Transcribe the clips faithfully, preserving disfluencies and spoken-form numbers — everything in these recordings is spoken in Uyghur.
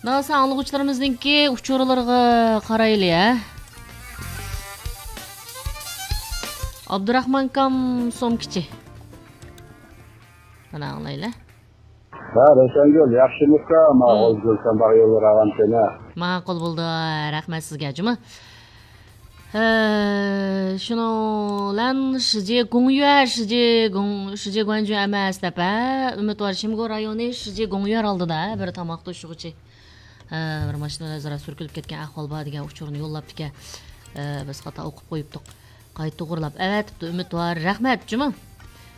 داۋاسى ئاڭلىغۇچىلىرىمىزنىڭكى ئۇچۇرلىرىغا قارايلى، ھە؟ ئابدۇراخمانكام سومكىچى. مانا ئاڭلايلى. ھە، روشەنگۈل، ياخشىمۇسەن؟ ماقۇل، مم. گۈلشەن باغ يوللىرى ئاغام سېنى. ماقۇل بولدى، رەھمەت سىزگە، جۇمۇ. ھە، شۇنىڭ بىلەن شىجى گۇڭيۈەر، شىجى گۇڭ-، شىجى گۇەنجۈ ئەمەس دەپ، ھە، ئۈمىدۋار شىمگو رايونى شىجى گۇڭيۈەر ئالدىدا، ھە، بىر تاماق توشۇغۇچى. ھە، بىر ماشىنا بىلەن ئۆزئارا سۈركىلىپ كەتكەن ئەھۋال بار دېگەن ئۇچۇرنى يوللاپتىكەن. ھە، بىز خاتا ئوقۇپ قويۇپتۇق. قايتا توغرىلاپ ئەۋەتىپتۇ ئۈمىدۋار. رەھمەت، جۇمۇ.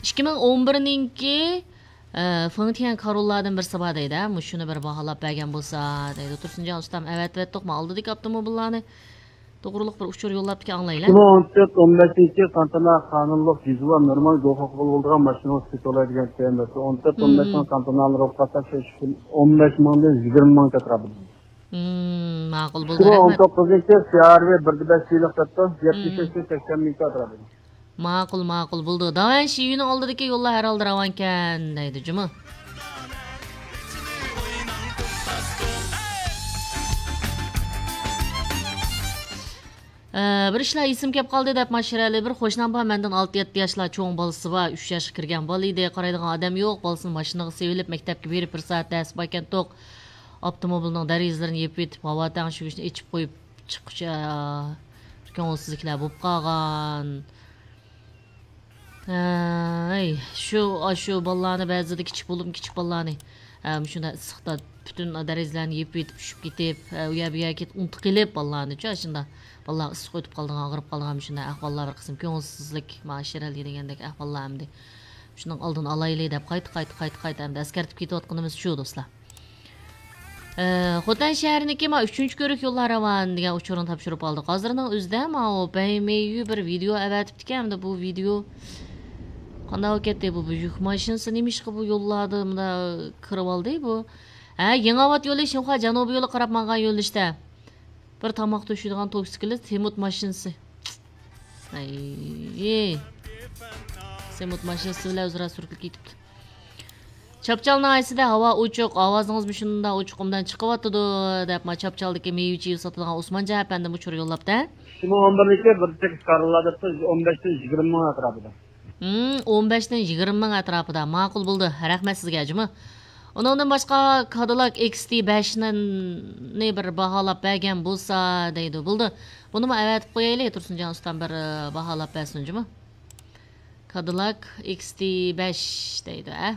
ئىككى مىڭ ئون بىرنىڭكى، ئە، فېڭتيەن كارۇللاردىن بىرسى بار دەيدۇ، ھە؟ مۇشۇنى بىر باھالاپ بەرگەن بولسا، دەيدۇ. تۇرسۇنجان ئۇستام، ئەۋەتىۋەتتۇق، ما ئالدىدىكى ئاپتوموبىللارنى. توغرۇلۇق بىر ئۇچۇر يوللاپتىكەن، ئاڭلايلى. ئىككى مىڭ ئون تۆت، ئون بەشىنچى قانتانا قانۇنلۇق، دېزۇۋا، نورمال، گوخۇق بولىدىغان ماشىنا سېتىۋالاي دېگەن تېمىسى. ئون تۆت، ئون بەشنىڭ قانتانالىنى ئوقۇپ قالساق، شۇ ئىككى، ئون بەش مىڭدىن يىگىرمە مىڭ ئەتراپىدا. مم، ماقۇل بولدى، ئىككى مىڭ ئون توققۇزىنچى رەھمەت. سىيارۋى بىر دە بەش يىللىق دەپتۇ، يەتمىش بەشتىن سەكسەن مىڭ ئەتراپىدا. ماقۇل، ماقۇل، بولدى. داۋەن شىيۈنىڭ ئالدىدىكى يوللار ھەر ھالدا راۋانكەن، دەيدۇ، جۇمۇ. ئە، بىر ئىشلار ئېسىمگە كەپ قالدى دەپ، ماشىرەلى بىر قوشنام بار، مەندىن ئالتە يەتتە ياشلار چوڭ بالىسى بار، ئۈچ ياشقا كىرگەن بالا ئىدى، قارايدىغان ئادەم يوق، بالىسىنى ماشىنىغا سېلىپ، مەكتەپكە بېرىپ، بىر سائەت دەرس باركەنتۇق. ئاپتوموبىلنىڭ دېرىزىلىرىنى يېپىۋېتىپ، ھاۋا تەڭشىگۈچنى ئېچىپ قويۇپ چىققۇچە، بىر كۆڭۈلسىزلىكلەر بولۇپ قالغان. ھەي، شۇ، ئاشۇ بالىلارنى بەزىدە كىچىك بولۇپمۇ كىچىك بالىلارنى، ھە، مۇشۇنداق ئىسسىقتا پۈتۈن دېرىزىلەرنى يېپىۋېتىپ چۈشۈپ كېتىپ، ھە، ئۇ يەر بۇ يەرگە كېتىپ ئۇنتۇپ قېلىپ بالىلارنىچۇ، ئاشۇنداق بالىلار ئىسسىق ئۆتۈپ قالىدىغان، ئاغرىپ قالىدىغان مۇشۇنداق ئەھۋاللار بىر قىسىم كۆڭۈلسىزلىك، مانا شىرەلى دېگەندەك ئەھۋاللار ئەمدى. شۇنىڭ ئالدىنى ئالايلى دەپ قايتا، قايتا، قايتا، قايتا ئەمدى ئەسكەرتىپ كېتىۋاتقىنىمىز شۇ، دوستلار. ئە، خوتەن شەھىرىنىڭكى ما ئۈچىنچى كۆۋرۈك يوللار راۋان دېگەن ئۇچۇرنى تاپشۇرۇپ ئالدۇق. ھازىرنىڭ ئۆزىدە ماۋۇ بەيمەيۈ بىر ۋىدېئو ئەۋەتىپتىكەن. ئەمدى بۇ ۋىدېئو قانداق بولۇپ كەتتى؟ بۇ، بۇ يۈك ماشىنىسى نېمىشقا بۇ يوللاردا مۇنداق كىرىۋالدى بۇ؟ ھە، يېڭىئاۋات يولى شىنخۇا جەنۇبىي يولى قاراپ ماڭغان يۆنىلىشتە. بىر تاماق توشۇيدىغان توكسىكلىت سېمونت ماشىنىسى. ئەي، سېمونت ماشىنىسى بىلەن ئۆزئارا سۈركىلىپ كېتىپتۇ. چاپچال ناھىيەسىدە ھاۋا ئوچۇق، ئاۋازىڭىز مۇشۇنداق ئوچۇق ئوبدان چىقىۋاتىدۇ، دەپ، ما چاپچالدىكى مېۋە-چېۋە ساتىدىغان ئوسمانجان ئەپەندىم ئۇچۇر يوللاپتۇ. ئىككى مىڭ ئون بىرنىڭكى بىر تېكىست كارىللا دەپتۇ، ئون بەشتىن يىگىرمە مىڭ ئەتراپىدا. ھىم، ئون بەشتىن يىگىرمە مىڭ ئەتراپىدا. ماقۇل بولدى. رەھمەت سىزگە، جۇمۇ. ئۇنىڭدىن باشقا كادىلاك ئېكس تى بەشنى بىر باھالاپ بەرگەن بولسا دەيدۇ. بولدى. بۇنىمۇ ئەۋەتىپ قويايلى، تۇرسۇنجان ئۇستام بىر، ئى، باھالاپ بەرسۇن، جۇمۇ. كادىلاك ئېكس تى بەش دەيدۇ، ئە.